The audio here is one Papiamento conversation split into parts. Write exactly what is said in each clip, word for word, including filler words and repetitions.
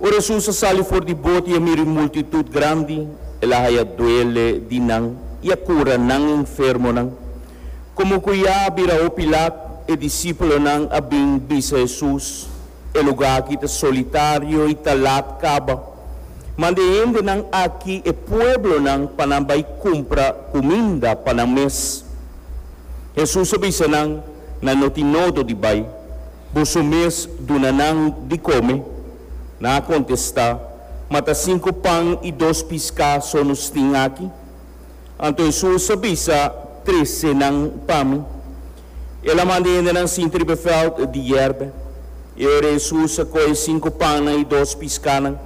Ora Hesus a sali for di boto i a mira un multitut grandi, el a haya duele di nan i a kura nan enfermonan. Komo ku ya a bira hopi lat, e disipelnan a bin bisa Hesus: "E lugá aki ta solitario i ta lat kaba. Manda e hendenan aki, e pueblonan, pa nan bai kumpra kuminda pa nan mes." Hesus a bisa nan: "Nan no tin nodo di bai. Boso mes duna nan di kome." Nan a kontestá: "Ma ta sinku pan i dos piská so nos tin aki." Anto Hesus a bisa: "Trese nan pa mi." El a manda e hendenan sinta riba e vèlt di yèrba. I ora Hesus a kohe sinku pannan i dos piskánan,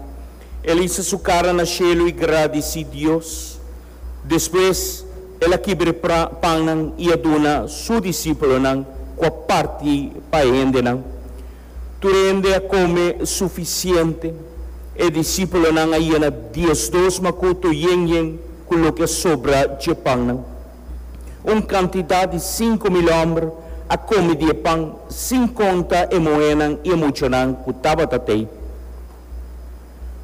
el a hisa su kara na shelu i gradisí Dios. Despues el a kibra e pannan i a duna su disipelnan, ku a parti pa e hendenan. Tur hende a kome sufisiente. E disipelnan a yena diesdos makutu yen yen ku loke a sobra dje pannan. Un kantidat di sinku mil hòmber a kome di e pan, sin konta e muhénan i e muchanan ku tabata tei.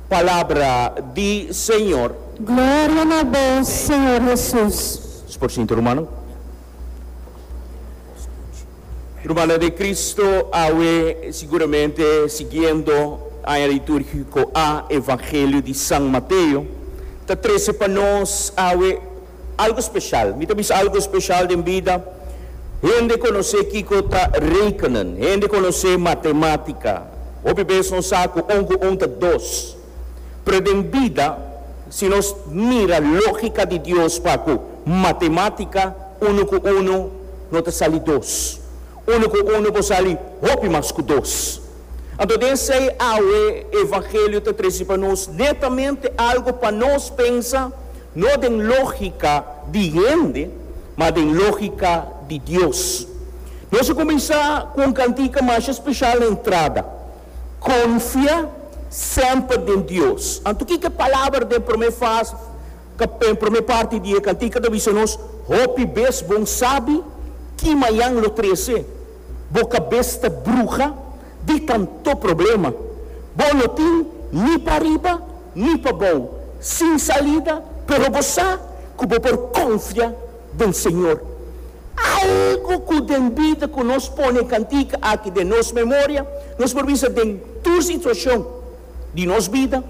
Palabra di Señor. Gloria na bo, Señor Hesus. Por sinta, rumannan. Rumannan den Cristo, awe siguramente siguiendo aña litúrgiko A, Evangelio di San Mateo ta trese pa nos awe algu spesial. Mi ta bisa algu spesial den bida. Hende konosé kiko ta rekenen, hende konosé matemátika. Hopi bes nos sa ku un ku un ta dos. Pero den bida, si nos mira lógika di Dios pa ku matemátika, unu ku unu no ta sali dos. Unu ku unu por sali hopi mas ku dos. Anto den esei awe Evangelio ta trese pa nos netamente algu pa nos pensa, no den lógika di hende, ma den lógika di Dios. Nos a kuminsá ku un kantika masha spesial na entrada, "Konfia Semper den Dios." Anto kiko e palabra den promé fase, promé parti di e kantika ta bisa nos? Hopi bes bo n' sabi ki mañan lo trese. Bo kabes ta bruha di tantu problema. Bo no tin ni pa riba ni pa bou, sin salida, pero bo sa ku bo por konfia den Señor. Algu ku den bida ku nos pone kantika aki den nos memoria, nos por bisa den tur situashon di nos bida,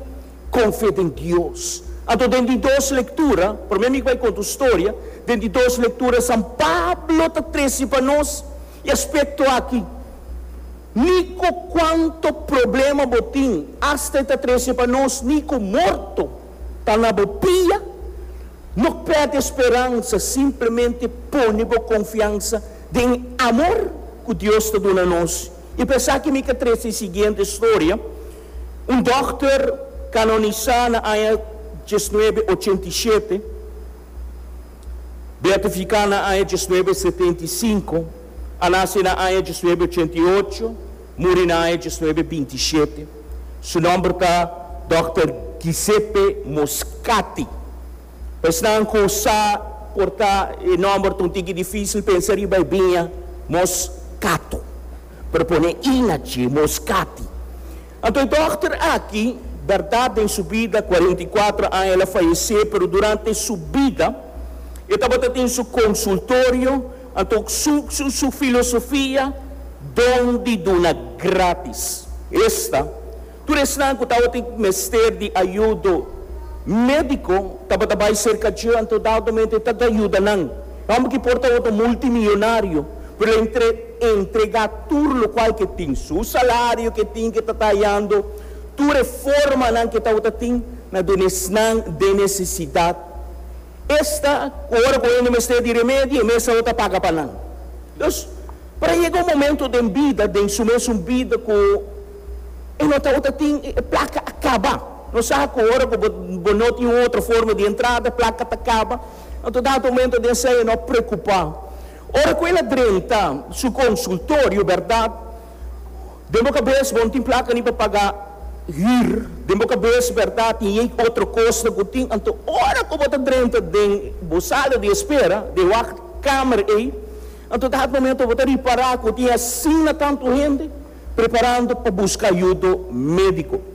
konfia den Dios. Anto den di dos lektura, promé mi bai konta un storia, den di dos lektura San Pablo ta trese pa nos e aspekto aki. Ni ku kuantu problema bo tin, asta e ta trese pa nos, ni ku morto ta na bo pia, no pèrdè speransa, simplemente pone bo konfiansa den amor ku Dios ta duna nos. I pa esaki mi ke trese e siguiente storia. Un dòkter kanonisá na aña diesnuebe ochenta i shete, beatifiká na aña diesnuebe setenta i sinku, a nase na aña diesnuebe ochenta i ocho, muri na aña diesnuebe binti i shete. Su nòmber ta Dòkter Giuseppe Moscati. Esnan ku sa por ta e nòmber un tiki difísil, pensa riba e biña Moscato. Pero pone inachi, Moscati. Anto e dòkter aki, bèrdat, den su bida, kuarenta i kuater aña el a fayesé, pero durante su bida, e tabatin su konsultorio, anto su, su, su filosofia, don di duna gratis. Esta, tur esnan ku tabatin mester di ayudo médiko, tabata bai serka dje, anto dadamente ta yuda nan. Hòmber ku por ta multimilionario, pero entre entregá tur loke ku e tin, su salario ku e tin ku ta tayando, tur e formanan ku e tin na duna esnan den nesesidat. Esta, ora ku e mester di remedi, e mes ta paga pa nan. Dus, pa yega un momento den bida, den su mes bida, ku e no ta tin plaka a kaba. No sa ku ora ku bo no tin otro forma di entrada, plaka ta kaba. Anto, dado momento den esei, no preokupá. Ora ku el a drenta su konsultorio, bèrdat, den bo kabes, bo n' tin plaka ni pa paga huur, den bo kabes, bèrdat, i otro kos ku tin. Anto, ora ku bo ta drenta den bo sala di espera, den wachtkamer ei, anto dado momento bo ta ripará ku tin asina tantu hende preparando pa buska ayudo médiko.